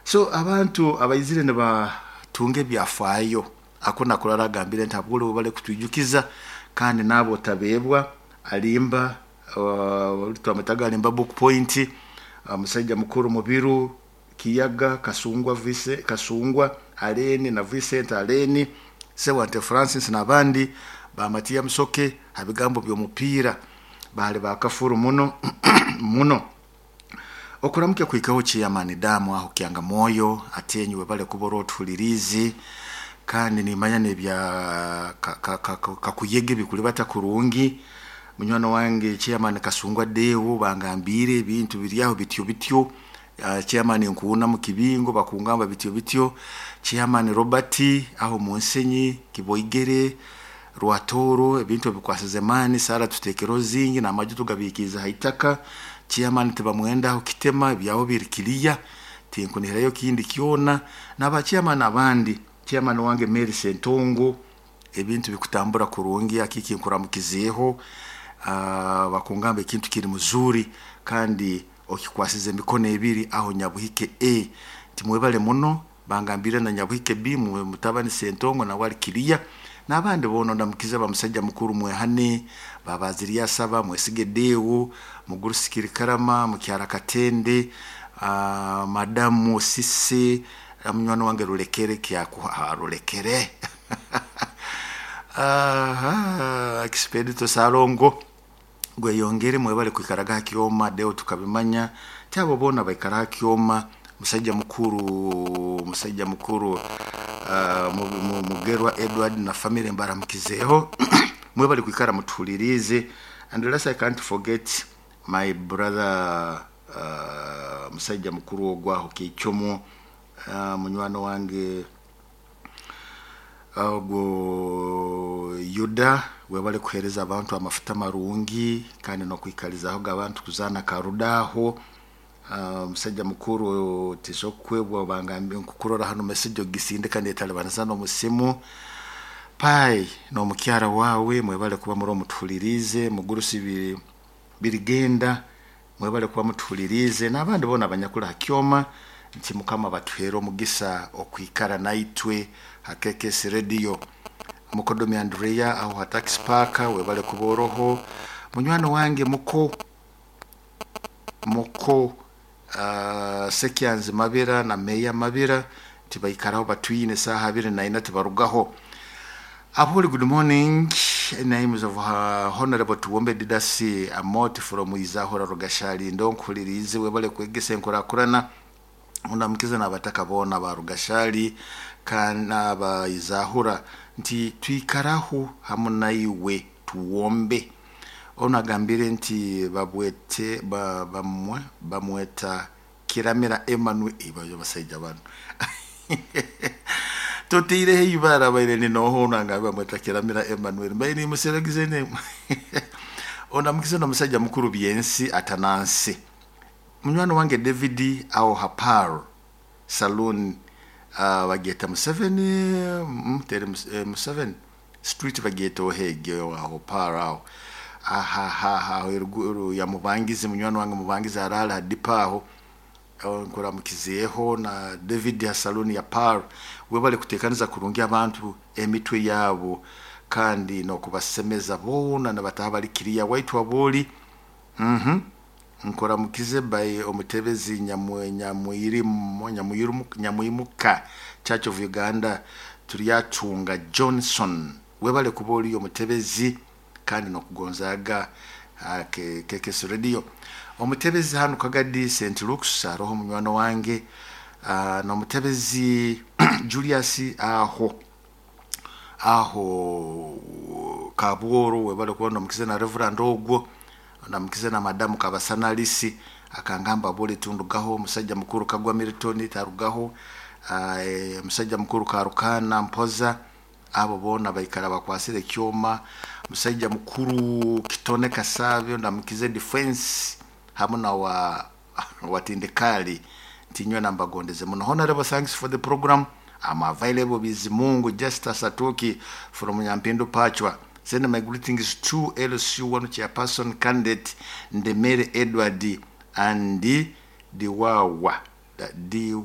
So abantu abaizire nibatunga ebyafaayo ako nakurara agambire nti habwole bale kutwijukiza kandi naabo otabeebwa alimba, twamwetaga Alimba Book Point, musajja mukuru Mubiru Kiyaga Kasungwa, Vise Kasungwa Aleni na Vincent Aleni, Sewante Francis n'abandi bamatiya Musoke ha bigambo by'omupiira baali bakafuru muno muno. Okuramukya kuhikaho chairman damu aho kyanga moyo atenyiwe bale kubora otuhulirizi kandi nimanya nebya kakuyege bikulibata kurungi. Munywani wange chairman Kasungwa Deo bangambire ebintu biri aho bityo bityo. Chairman Nkuuna mu Kibingo bakungamba bityo bityo. Chairman Robert aho Munsenyi Kiboigere Rwatoro ebintu ebikwasize maani sara tutekero zingi n'amaju tugabikiza haitaka. Chairman tibamwenda aho Kitema ebyaho biri kiriya tinkunihirayo kindi kyona n'aba chairman abandi. Chairman wange Mary Sentongo ebintu bikutambura kurungi akiki nkuramukizeeho. Bakungamba ekintu kiri muzuri kandi okikwasize emikono ebiri aho Nyabuhike A timwebale muno. Bangambire na Nyabuhike B mutabani Sentongo nawe ali kiriya n'abandi boona. Ndamukize bamusajja mukuru Mwehane babaziriya saba Mwesige Deo Mugurusikiri Karama Mukyara Katende, madamu Sise, munywani wange Rulekere kyakuha Rulekere Expedito Salongo gweyongere mwebale kwikaraga ha kyoma deo tukabimanya tyabo boona baikara ha kyoma. Musajja mukuru Mugerwa Edward na family mbaramukizeeho mwebale kwikara mutuhulirize. And last, I can't forget my brother, musajja mukuru ogwaho Kichomo, munywani wange ogwo Yuda, webale kuhereza abantu amafuta marungi kandi nokwikalizaho abantu kuzana karudaho. Musajja mukuru tisokwebwa bangambye nkukurora hano message ogisindika netalibanisa n'omusimu pai n'omukyara wawe mwebale kuba muri omutuhulirize. Mugurusi birigenda mwebale kuba mutuhulirize n'abandi bona abanyakula ha kyoma nti Mukama batuhere omugisa okwikara naitwe ha KKS Radio. Mukodomi Andrea aho ha Tax Park webale kuba oroho. Munywani wange muko muko Sekyanzi Mabira na Meya Mabira tibaikaraho batwine saha 24 tibarugaho. Abuli, good morning. Names of Honorable Tuwombe Didasi Amot from Izahora Rugashali ndonkulirize webale kwegesa enkurakurana undamukize n'abataka boona ba Rugashali kana ba Izahura nti twikaraho hamu naiwe Tuwombe. Ono agambire nti babwete ba, bamwe bamweta Kiramira Emmanuel ibayo basajja bano tutiireho ibara baire ninoho nanga bamweta Kiramira Emmanuel mbaire nimuseregize ne onamukize n'omusajja mukuru Byensi Atanansi. Munywani wange David aho Hapar Saloon, bageta Museveni tere Museveni Street bageta ohege aho Par aho ahahaha eruguru ya Mubangizi. Munywani wange Mubangizi arala hadipa aho nkuramukizeeho na David ya saloon ya Par webale kutekaniza kurungi abantu emitwe yabo kandi nokubasemeza boona nabataha bali kiriya waitu aboli. Nkoramukize by omutebezi Nyamwimuka Church of Uganda Turyatunga Johnson webale kuba oli omutebezi kandi nokugonzaga KKS Radio. Omutebezi hano Kagadi St Luke's aroho munywano wange, n'omutebezi Julius aho aho Kabworo webale kuba nomukize na Reverend ogwo namukize na madamu Kabasanalisi akangamba bole tundugaho. Musajja mukuru Kagwa Milton tarugaho, musajja mukuru Karukana Mpoza abo bona baikara bakwasire kyoma. Musajja mukuru Kitone Kasabyo ndamukize defense hamwe na wa watindikali ntinywe nambagondeze muno. Honorable, thanks for the program. I'm available. Bizimungu Justa Satoki from Nyampindu Pachwa. Send my greetings to LC1 chairperson candidate Ndemere Edward and Diwawa Diwa.